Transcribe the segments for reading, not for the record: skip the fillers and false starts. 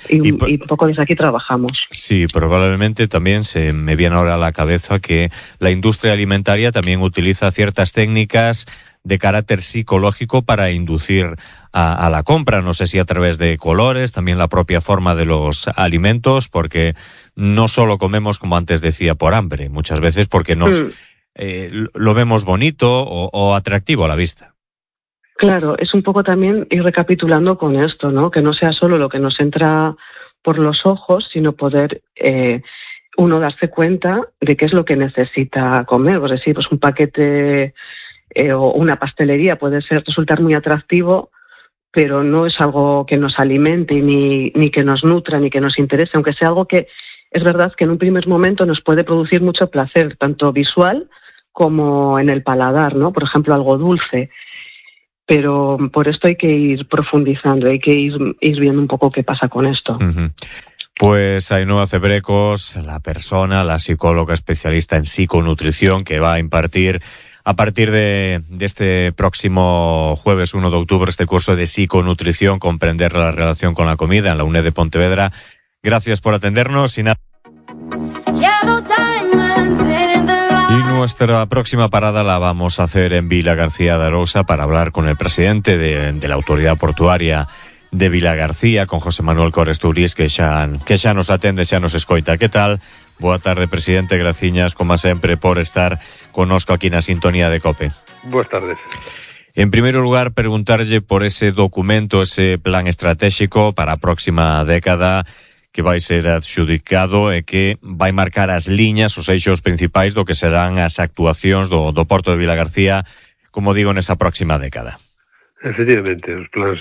y un poco desde aquí trabajamos. Sí, probablemente también se me viene ahora a la cabeza que la industria alimentaria también utiliza ciertas técnicas de carácter psicológico para inducir a la compra. No sé si a través de colores, también la propia forma de los alimentos, porque no solo comemos, como antes decía, por hambre, muchas veces porque lo vemos bonito o atractivo a la vista. Claro, es un poco también ir recapitulando con esto, ¿no? Que no sea solo lo que nos entra por los ojos, sino poder uno darse cuenta de qué es lo que necesita comer. Pues decir, pues un paquete o una pastelería puede resultar muy atractivo, pero no es algo que nos alimente ni que nos nutra ni que nos interese, aunque sea algo que es verdad que en un primer momento nos puede producir mucho placer, tanto visual como en el paladar, ¿no? Por ejemplo, algo dulce. Pero por esto hay que ir profundizando, hay que ir viendo un poco qué pasa con esto. Uh-huh. Pues Ainhoa Cebrecos, la psicóloga especialista en psiconutrición, que va a impartir a partir de este próximo jueves 1 de octubre este curso de psiconutrición, comprender la relación con la comida en la UNED de Pontevedra. Gracias por atendernos y nuestra próxima parada la vamos a hacer en Vilagarcía de Arousa para hablar con el presidente de la Autoridad Portuaria de Vilagarcía, con José Manuel Cores Turís, que xa nos atende, xa nos escoita. Que tal? Boa tarde, presidente. Graciñas, como sempre, por estar connosco aquí na sintonía de COPE. Boas tardes. En primeiro lugar, preguntarlle por ese documento, ese plan estratégico para a próxima década que vai ser adxudicado e que vai marcar as liñas, os eixos principais do que serán as actuacións do Porto de Vilagarcía, como digo, nesa próxima década. Efectivamente, os plans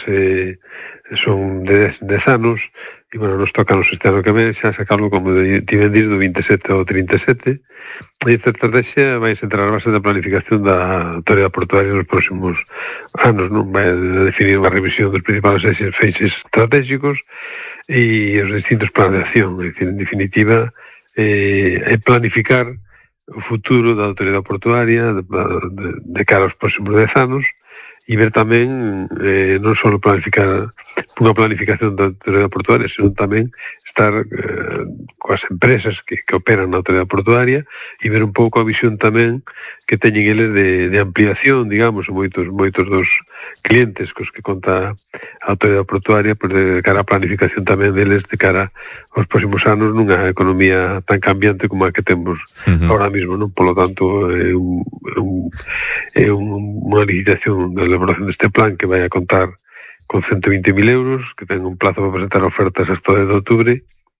son de 10 anos e, bueno, nos toca este ano que ven xa sacarlo, como ti ben dis, do 27 ao 37, e esta estrategia vai centrar a base da planificación da autoridade portuaria nos próximos anos, non? Vai definir unha revisión dos principales feixes estratégicos e os distintos planes de acción. En definitiva, é planificar o futuro da autoridade portuaria de cara aos próximos 10 anos e ver tamén non só planificar unha planificación da autoridade portuaria, sino tamén estar coas empresas que operan na autoridade portuaria e ver un pouco a visión tamén que teñen eles de ampliación, digamos, moitos dos clientes cos que conta a autoridade portuaria, pues de cara a planificación tamén deles de cara aos próximos anos nunha economía tan cambiante como a que temos ahora mismo, non? Por lo tanto, é unha licitación de elaboración deste plan que vai a contar con 120.000 euros, que ten un plazo para presentar ofertas hasta o 10 de octubre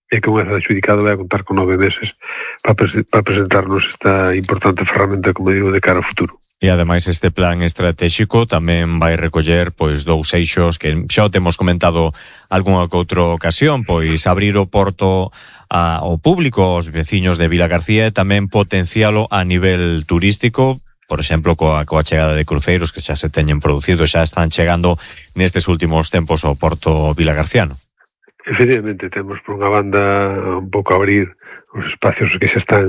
e que unha vez adxudicado vai a contar con 9 meses para presentarnos esta importante ferramenta, como digo, de cara ao futuro. E ademais este plan estratégico tamén vai recoller pois dous eixos que xa o temos comentado algunha que outra ocasión, pois abrir o porto ao público, aos veciños de Vilagarcía e tamén potencialo a nivel turístico, por exemplo, coa chegada de cruceiros que xa se teñen producido, xa están chegando nestes últimos tempos ao porto vilagarciano. Efectivamente, temos por unha banda un pouco abrir os espacios que xa están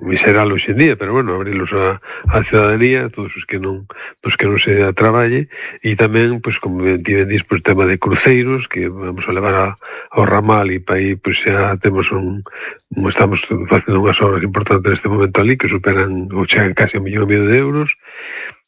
miseral hoxe en día, pero bueno, abrirlos á ciudadanía, todos os que non se traballe, e tamén, pois, como ti ben dis, pois, tema de cruceiros, que vamos a levar ao ramal, e para aí, pois, xa temos estamos facendo unhas obras importantes neste momento ali, que superan ou chegan casi 1,5 millón de euros.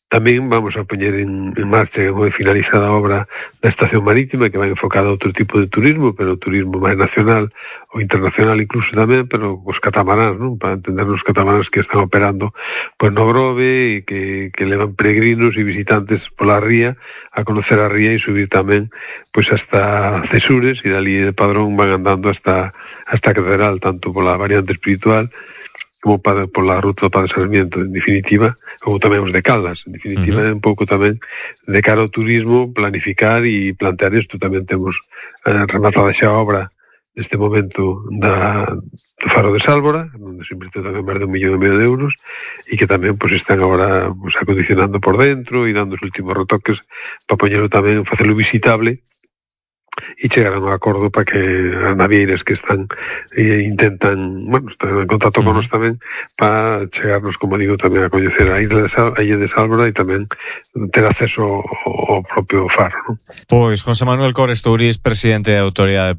Tamén vamos a poñer en marcha unha finalizada obra da estación marítima que vai enfocada a outro tipo de turismo, pero turismo máis nacional ou internacional incluso tamén, pero os catamaráns, non? Para entender os catamaráns que están operando pois no Grove e que levan peregrinos e visitantes pola ría a conocer a ría e subir tamén pois hasta Cesures e dali de Padrón van andando hasta a catedral, tanto pola variante espiritual como pola ruta do Padre Sarmiento, en definitiva, ou tamén os de Caldas, en definitiva, un pouco tamén de cara ao turismo, planificar e plantear isto. Tamén temos rematada xa a obra neste momento do Faro de Sálvora, onde se invirte tamén máis de 1,5 millón de euros, e que tamén pues, están agora pues, acondicionando por dentro e dando os últimos retoques para poñerlo tamén, facelo visitable, e chegar a un acordo para que as navieiras que están intentan, bueno, están en contacto con nos tamén para chegarnos, como digo, tamén a coñecer a Illa de Sálvora e tamén ter acceso ao propio faro, non? Pois José Manuel Cores Turís, presidente da Autoridade